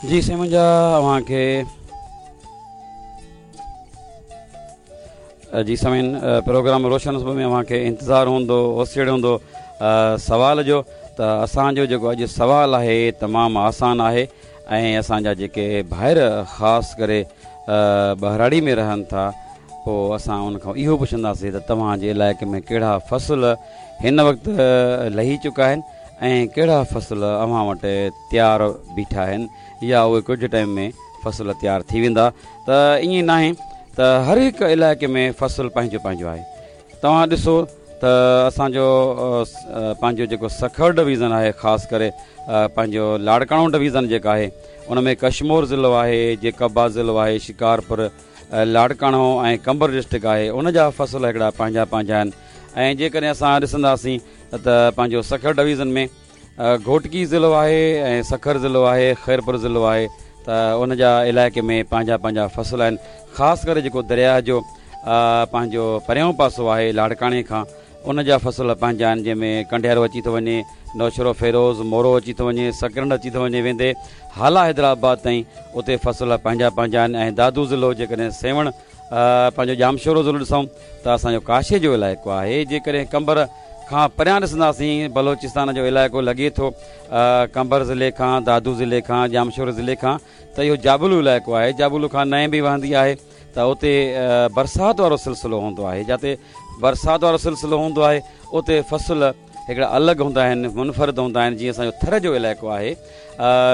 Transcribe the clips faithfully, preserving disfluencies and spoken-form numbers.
جي سائين منهنجا، اوهان کي جي سامعين پروگرام روشن صبح ۾ اوهان کي انتظار هوندو، اوسيڙ هوندو سوال جو. ته اسان جو جيڪو اڄ سوال آهي تمام آسان آهي ۽ اسان جا جيڪي ڀائر خاص ڪري ٻهراڙي ۾ رهن ٿا، پوء اسان ان کان اهو پڇنداسين ته توهان جي علائقي ۾ ڪهڙا فصل هن وقت لهي چڪا آهن ۽ ڪهڙا فصل اوهان وٽ تيار بيٺا آهن يا اهي ڪجهه ٽائيم ۾ فصل تيار ٿي ويندا. ته ائين ناهي ته هر هڪ علائقي ۾ فصل پنهنجو پنهنجو آهي. توهان ڏسو ته اسان جو پنهنجو جيڪو سکر ڊويزن آهي، خاص ڪري پنهنجو لاڙڪاڻو ڊويزن جيڪا آهي، ان ۾ ڪشمور ضلعو آهي، جيڪب آباد ضلعو آهي، شڪارپور، لاڙڪاڻو ۽ قمبر ڊسٽرڪٽ آهي، ان جا فصل هڪڙا پنهنجا پنهنجا آهن. ۽ جيڪڏهن اسان ڏسنداسين ته پنهنجو سکر ڊويزن ۾ گهوٽڪي ضلعو آهي ۽ سکر ضلعو آهي، خيرپور ضلعو آهي، ته ان جا علائقي ۾ پنهنجا پنهنجا فصل آهن. خاص ڪري جيڪو درياهه جو پنهنجو پريون پاسو آهي لاڙڪاڻي کان، ان جا فصل پنهنجا آهن، جنهن ۾ ڪنڊيارو اچي ٿو وڃي، نوشهرو فيروز، مورو اچي ٿو وڃي، سڪرنڊ اچي ٿو وڃي، ويندي هالا حيدرآباد تائين اتي فصل پنهنجا پنهنجا آهن. ۽ دادو ضلعو جيڪڏهن سيوهڻ پنهنجو ڄامشورو ضلعو ڏسون ته اسان جو ڪاشي جو علائقو آهي. جيڪڏهن قمبر کان پريان ڏسنداسين، بلوچستان جو علائقو لڳي ٿو قمبر ضلعي کان، دادو ضلعي کان، ڄامشورو ضلعي کان، ته اهو جابلو علائقو آهي. جابلو کان نئين به وهندي آهي ته اتي برسات وارو سلسلو هوندو آهي. جاتي برسات وارو سلسلو هوندو آهي اتي فصل هڪڙا الڳ هوندا آهن، منفرد هوندا آهن. جيئن اسان جو ٿر جو علائقو آهي،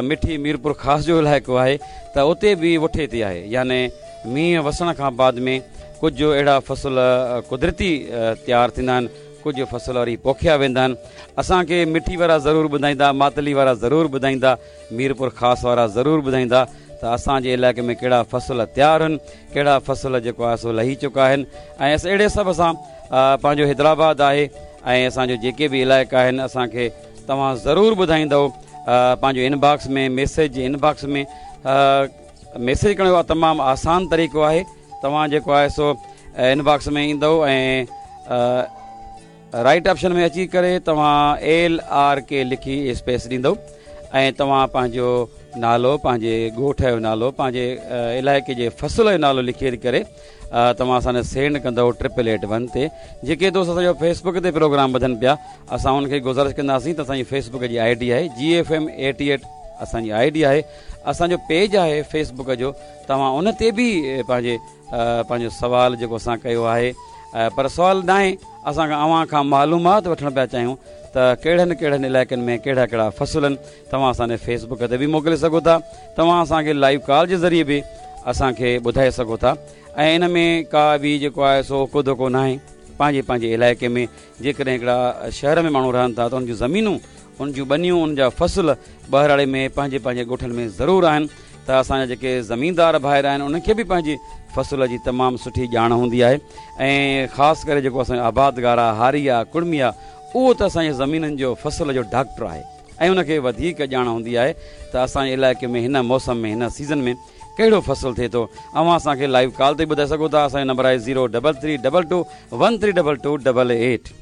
مٺي ميرپور خاص جو علائقو آهي، ته اتي به وٺي تي آهي، يعني مينهن وسڻ کان بعد ۾ ڪجهه اهڙا فصل قدرتي تيار ٿيندا آهن، ڪجهه فصل وري پوکيا ويندا آهن. اسان کي مٺي وارا ضرور ٻڌائيندا، ماتلي وارا ضرور ٻڌائيندا، ميرپور خاص وارا ضرور ٻڌائيندا ته اسان جي علائقي ۾ ڪهڙا فصل تيار آهن، ڪهڙا فصل جيڪو آهي سو لهي چڪا آهن. ۽ اهڙي حساب سان پنهنجو حيدرآباد آهي ۽ اسان جو جيڪي به علائقا آهن اسان کي توهان ضرور ٻڌائيندؤ. پنهنجو انباڪس ۾ ميسيج جي انباڪس ۾ ميسيج ڪرڻ جو تمام آسان طريقو آهي. توهان جيڪو آهي سو انباڪس ۾ ايندؤ ۽ رائٽ آپشن ۾ اچي ڪري توهان ايل آر ڪي لکي اسپيس ڏيندؤ ۽ توهان پنهنجو نالو، پنهنجي ڳوٺ جو نالو، پنهنجي علائقي جي فصل جو نالو لکي ڪري توهان اسان کي سينڊ ڪندؤ ٽرپل ايٽ ون تي. جيڪي دوست اسان جو فيسبڪ تي پروگرام ٻڌن پيا، اسان انهن کي گذارش ڪنداسين ته اسان جي فيسبڪ جي I D آهي جي ايف ايم ايٽي ايٽ، اسان جي I D آهي، اسان جو پيج آهي فيسبڪ جو، توهان ان تي به پنهنجي پنهنجو سوال جيڪو اسان ڪيو آهي، پر سوال ناهي، اسان کان اوهان کان معلومات وٺڻ پيا چاهيون ته ڪهڙن ڪهڙن علائقن ۾ ڪهڙا ڪهڙا فصل آهن. توهان اسان کي فيسبڪ تي به موڪلي سگهو ٿا، توهان اسان کي لائيو ڪال جي ذريعي به اسان کي ٻڌائي سگهو ٿا. ۽ ان ۾ ڪا به جيڪو آهي سو ڪو ڌوڪو ناهي. پنهنجي پنهنجي علائقي ۾ جيڪڏهن هڪڙا شهر ۾ ماڻهو رهن ٿا ته ان جون زمينون، ان جون ٻنيون، ان جا فصل ٻهراڙي ۾ پنهنجي پنهنجي ڳوٺن ۾ ضرور آهن. ته اسان جا جيڪي زميندار ڀائر آهن انهن کي به پنهنجي فصل جي تمام سٺي ڄاڻ هوندي آهي. ۽ خاص ڪري جيڪو اسان جو آبادگار آهي، هاري آهي، ڪڙمي آهي، اهو ته اسان جي زمينن جو فصل جو ڊاڪٽر آهي ۽ ان کي وڌيڪ ڄاڻ هوندي آهي ته اسان جي علائقي ۾ هن موسم ۾ هن سيزن ۾ ڪهڙو فصل ٿئي ٿو. اوهان اسان کي لائيو ڪال تي ٻڌائي سگهو ٿا. اسان جو نمبر آهي zero double three double two one three double two double eight.